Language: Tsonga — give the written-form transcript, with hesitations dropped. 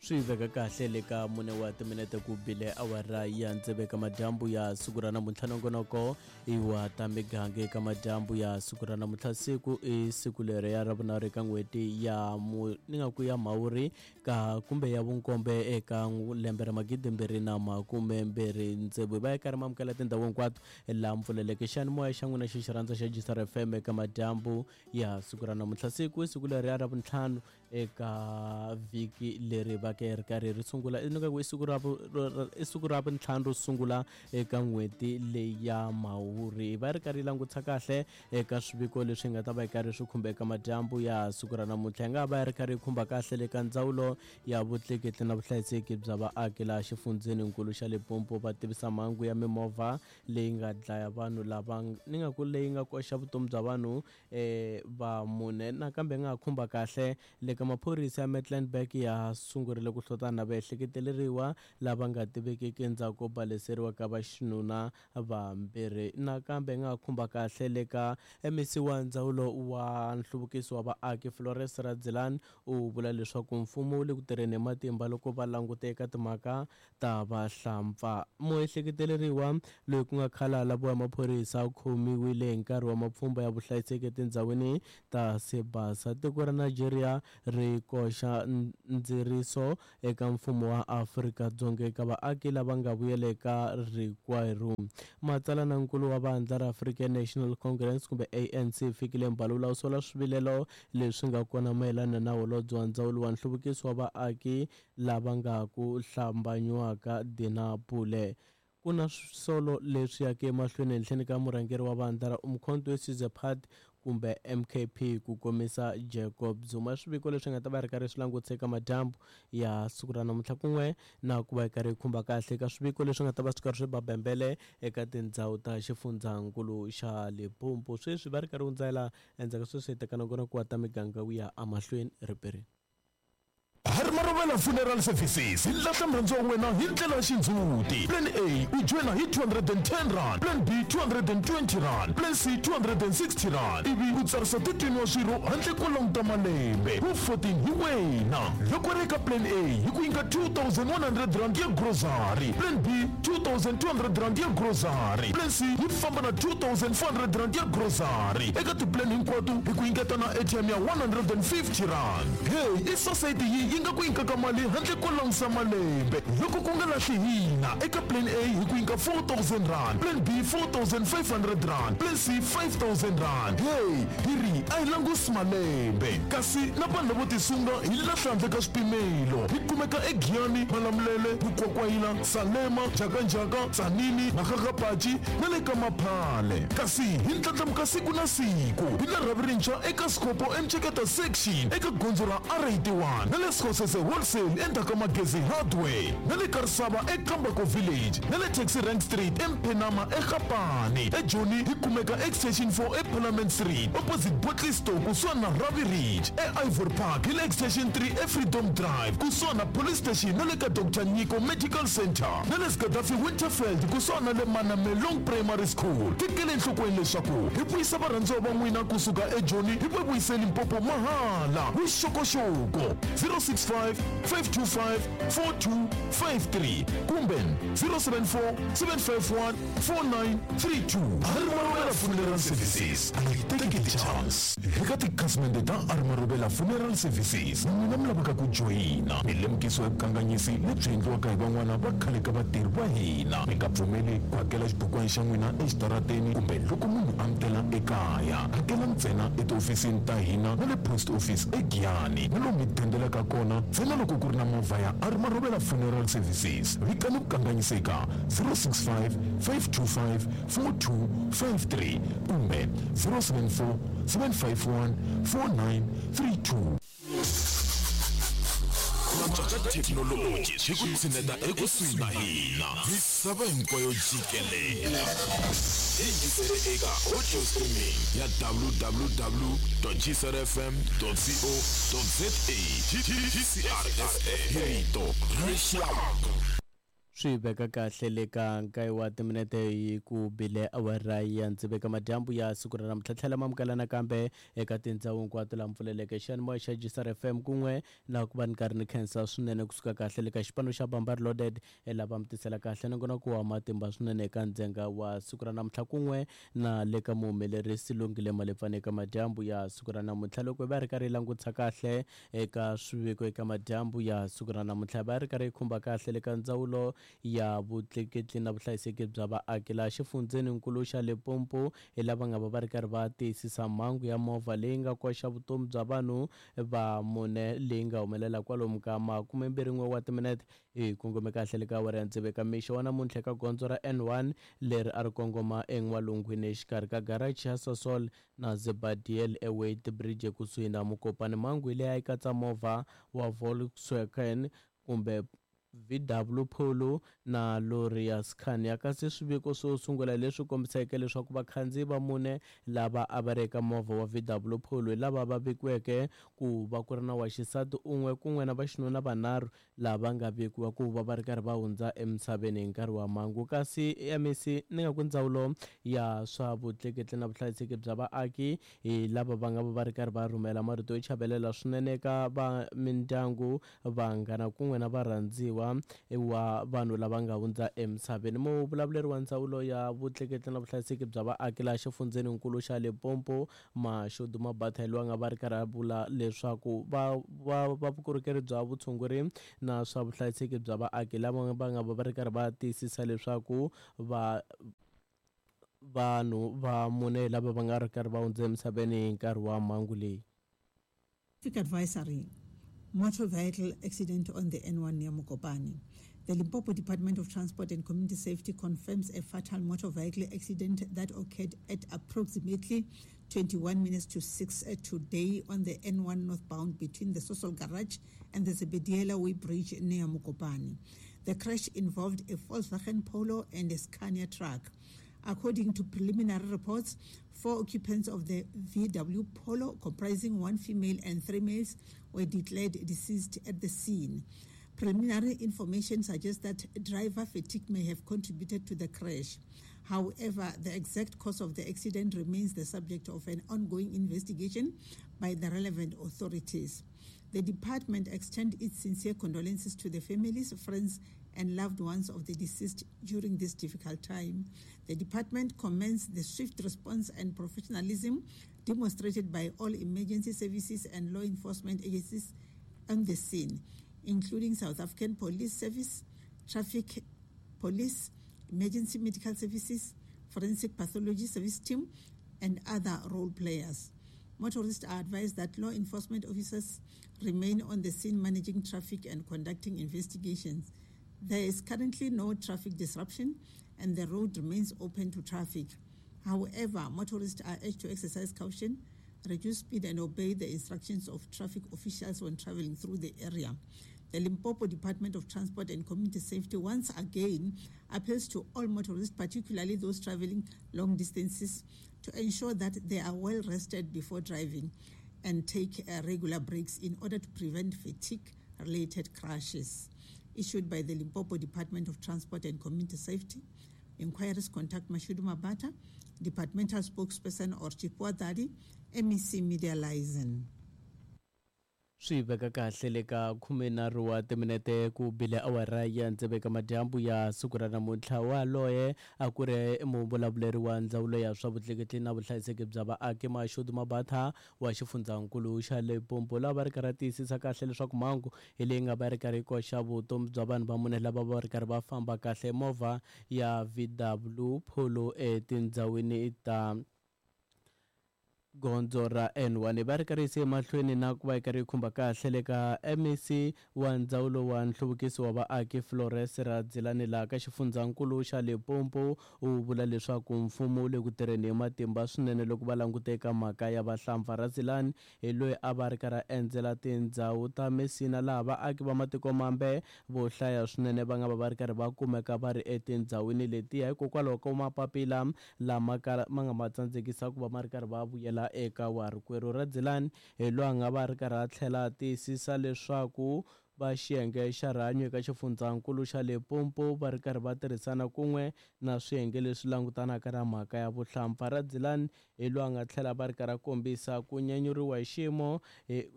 Swi veka kahle le ka mune wa timinete ku bile awara ya tsevu eka madyambu ya siku ra namuntlha. Nongonoko i wa ta miganga eka madyambu ya siku ra namuntlha. Siku i siku leri ya ravunharhu eka n'hweti ya mu ni nga ku ya mhawuri ka kumbe ya vunkombe eka lembe ra magidimbirhi na makume mbirhi tsevu. Hi va hi karhi mamukela tindhawu hinkwato laha mpfuleleke xiyanimoya xa n'wina xi xi rhandza xa Gisar FM eka madyambu ya siku ra namuntlha. Siku i siku leri ya ravuntlhanu eka vhiki leri va ke ri karhi ri sungula ni nga ku i siku ra i siku ra vuntlhanu ro sungula eka n'hweti leyi ya mhawuri. Va ri karhi yi langutisa kahle eka swiviko leswi nga ta va yi karhi swi khumba eka madyambu ya siku ra namuntlha. Yi nga va yi ri karhi yi khumba kahle le ka ndzawulo ya vutleketli na vuhlayiseki bya vaaki laha xifundzheninkulu xa Limpopo va tivisa mhangu ya mimovha leyi nga dlaya vanhu lava ni nga ku leyi nga koxa vutomi bya vanhu va mune. Nakambe yi nga ha khumba kahle le ka maphorisa ya Mecklenburg ya sungurile ku hlotana na vaehleketeleriwa lava nga tivekiki endzhaku ko baleseriwa ka vaxinuna vambirhi. Nakambe yi nga ha khumba kahle le ka MEC wa ndzawulo wa nhluvukiso wa vaaki Flores Radzilani u vula leswaku mfumo wu le ku tirheni hi matimba loko va langute eka timhaka ta vahlampfa. Muehleketeleriwa loyi ku nga khale a laviwa hi maphorisa u khomiwile hi nkarhi wa mapfhumba ya vuhlayiseki etindhawini ta Sibasa. Tiko ra Nigeria ri koxa ndziriso eka mfumo wa Afrika-Dzonga eka vaaki lava nga vuyela eka rikwerhu. Matsalanankulu wa vandla ra African National Congress kumbe ANC Fikile Mbalula u sola swivilelo leswi nga kona mayelana na holobye wa ndzawulo wa nhluvukiso wa vaaki lava nga ku hlambanyiwaka Dina Pule. Ku na swisolo leswi yaka emahlweni ehenhleni ka murhangeri wa vandla ra Umkhonto we Sizwe Party kumbe MKP ku komisa Jacob Zuma. Swiviko leswi nga ta va ri karhi swi langutisa eka madyambu ya siku ra namuntlha kun'we na ku va yi karhi yi khumba kahle eka swiviko leswi nga ta va swi karhi swi ba bembele eka tindhawu ta xifundzankulu xa Limpopo. Sweswi va ri karhi hundzela endzhaku ka sweswi hi teka nongonoko wa ta miganga wu ya emahlweni riperini. Harmarovela Funeral Services hi lahla murhandziwa wa wena hi ndlela ya xindzhuti. Plan A u joyina hi R210, Plan B R220, Plan C R260 ivi u tsarisa 13 wa swirho handle ko languta malembe. Wu 14 hi wena. Loko ri eka Plan A hi ku nyika R2100 ya grocery, Plan B R2200 ya grocery, Plan C yi famba na R2400 ya grocery. Eka ti-plan hinkwato hi ku nyiketa na airtime ya R150. Hey, i sosayiti yi yi nga ku nyikaka mali handle ko langusa malembe. Loko ku nga lahli hina, eka Plan A hi ku nyika R4000, Plan B R4500, Plan C R5000. Hey, hi ri a hi langusi malembe. Kasi na vanhu lavo tisunga hi lahla handle ka swipimelo. Hi kumeka eGiyani, Malamulele, Vukwakwayila, Salema, Njhakanjhaka, Tzaneen, Makgakgapachi na le ka Maphale. Kasi hi ndlandlamuka siku na siku. Hi na rhavi rintshwa eka Skhopho eMceketa Section eka gondzo ra R81 na le Skhosese Wholesale endzhaku ka Magezi Hardware na le Karisava eKambako Village na le Taxi Rank Street eMphenama eGapane. EJoni hi kumeka Extension 4 eParliament Street opposite Bottle Store kusuhani na Ravi Ridge. E-Ivory Park hi le Extension 3 eFreedom Drive kusuhani na Police Station na le ka Doctor Nyiko Medical Centre na le Gaddafi Winterveld kusuhani na le Manamelong Primary School. Tekela enhlokweni leswaku hi vuyisa varhandziwa va n'wina kusuka eJoni hi va vuyise Limpopo mahala. Vuxokoxoko 065 525 4253 kumbe 074 751 4932. Armaruvela Funeral Services a yi teki ti-chance. Eka tikhasimende ta Armaruvela Funeral Services, n'wina mi lavaka ku joyina milemukiso ya vukanganyisi lebyi endliwaka hi van'wana va khale ka vatirhi va hina. Mi nga pfumeli ku hakela xibukwana xa n'wina exitarateni kumbe loko munhu a mi tela ekaya. Hakela ntsena etihofisini ta hina na le Post Office eGiyani na lomu mi dendelaka kona ntsena loko ku ri na movha ya Armaruvela Funeral Services. Vikani vukanganyisi eka 065 525 4253 kumbe 074 751 4932. Ku antswa ka thekinoloji swi ku tshineta ekusuhi na hina misava hinkwayo jikelele. Hi yingisele eka audio streaming ya www.gcrfm.co.za. GCRFM hi rito ra rixaka. Swi veka kahle le ka nkaye wa timinete hi ku bile awara ya ndziveka madyambu ya siku ra namuntlha. Tlhela mamukela nakambe eka tindhawu hinkwato laha mpfuleleke xiyanimoya xa Gisar FM kun'we na ku va ni karhi ni khensa swinene kusuka kahle le ka xipano xa Bambari Loaded lava mi tisela kahle nongonoko wa matimba swinene eka ndzhenga wa siku ra namuntlha kun'we na le ka muhumelerisi Lungile Malepfane eka madyambu ya siku ra namuntlha. Loko hi va ri karhi hi langutisa kahle eka swiviko eka madyambu ya siku ra namuntlha, hi va ri karhi hi khumba kahle le ka ndzawulo ya vutleketli na vuhlayiseki bya vaaki laha xifundzheninkulu xa Limpopo hi lava nga va va ri karhi va tiyisisa mhangu ya movha leyi nga koxa vutomi bya vanhu va mune leyi nga humelela kwalomu ka makumembirhi-n'we wa timinete hi kongome kahle le ka awara ya tsevu eka mixo wa namuntlha eka gondzo ra N1 leri a ri kongoma en'walungwini exikarhi ka garachi ya Sasol na Zebadiel eBeitbridge ekusuhi na Mokopane. Mhangu leyi a yi katsa movha wa Volkswagen kumbe VW Polo na lori ya Scania. Kasi swiviko swo sungula leswi kombiseke leswaku vakhandziyi va mune lava a va ri eka movha wa VW Polo hi lava va vikiweke ku va ku ri na wa xisati un'we kun'we na vaxinuna vanharhu lava nga vikiwa ku va va ri karhi va hundza emisaveni hi nkarhi wa mhangu. Kasi MEC ni nga ku ndzawulo ya swa vutleketli na vuhlayiseki bya vaaki hi lava va nga va va ri karhi va rhumela marito yo chavelela swinene eka va mindyangu, vanghana kun'we na varhandziwa wa vanhu lava nga hundza emisaveni. Muvulavuleri wa ndzawulo ya vutleketli na vuhlayiseki bya vaaki laha xifundzheninkulu xa Limpopo, Mashudu Mabatha, hi loyi a nga va ri karhi a vula leswaku va va va vukorhokeri bya vutshunguri na swa vuhlayiseki bya vaaki lava va nga va va ri karhi va tiyisisa leswaku va vanhu va mune lava va nga ri karhi va hundza emisaveni hi nkarhi wa mhangu leyi. Traffic advisory, motor vehicle accident on the N1 near Mokopane. The Limpopo Department of Transport and Community Safety confirms a fatal motor vehicle accident that occurred at approximately 21 minutes to 6 today on the N1 northbound between the Sosol Garage and the Zebediela Way Bridge near Mokopane. The crash involved a Volkswagen Polo and a Scania truck. According to preliminary reports, 4 occupants of the VW Polo, comprising 1 female and 3 males, were declared deceased at the scene. Preliminary information suggests that driver fatigue may have contributed to the crash. However, the exact cause of the accident remains the subject of an ongoing investigation by the relevant authorities. The department extends its sincere condolences to the families, friends, and loved ones of the deceased during this difficult time. The department commends the swift response and professionalism demonstrated by all emergency services and law enforcement agencies on the scene, including South African Police Service, Traffic Police, Emergency Medical Services, Forensic Pathology Service Team, and other role players. Motorists are advised that law enforcement officers remain on the scene managing traffic and conducting investigations. There is currently no traffic disruption and the road remains open to traffic. However, motorists are urged to exercise caution, reduce speed and obey the instructions of traffic officials when traveling through the area. The Limpopo Department of Transport and Community Safety once again appeals to all motorists, particularly those traveling long distances, to ensure that they are well rested before driving and take regular breaks in order to prevent fatigue-related crashes. Issued by the Limpopo Department of Transport and Community Safety. Inquiries contact Mashudu Mabata, Departmental Spokesperson, or Chipwa Dadi, MEC Media Liaison. Swi veka kahle le ka 13 wa timinete ku bile awara ya ndzeveka madyambu ya siku ra namuntlha. Waloye a ku ri muvulavuleri wa ndzawulo ya swa vutleketli na vuhlayiseki bya vaaki Mashudu Mabatha wa xifundzankulu xa Limpopo, lava va ri karhi tiyisisa kahle leswaku mhangu hi leyi nga va ri karhi yi koxa vutomi bya vanhu va mune lava va ri karhi va famba kahle movha ya VW Polo etindhawini ta gondzo ra N1. Va ri karhi yise emahlweni na ku va yi karhi yi khumba kahle le ka MEC wa ndzawulo wa nhluvukiso wa vaaki Flores Radzilani laha ka xifundzankulu xa Limpopo u vula leswaku mfumo wu le ku tirheni hi matimba swinene loko va langute eka mhaka ya vahlampfa. Radzilani hi loyi a va ri karhi a endzela tindhawu ta Messina laha vaaki va matiko mambe vo hlaya swinene va nga va va ri karhi va kumeka va ri etindhawini letiya hikokwalaho ka mapapila lama ma nga ma tsandzekisa ku va ma ri karhi va vuyela eka warikwerhu. Radzilani hi loyi a nga va ri karhi a tlhela a tiyisisa leswaku Va xiyenge xa rihanyo eka xifundzankulu xa Limpopo va ri karhi va tirhisana kun'we na swiyenge leswi langutanaka na mhaka ya vuhlampfa. Radzilani hi loyi a nga tlhela va ri karhi a kombisa ku nyanyuriwa hi xiyimo hi.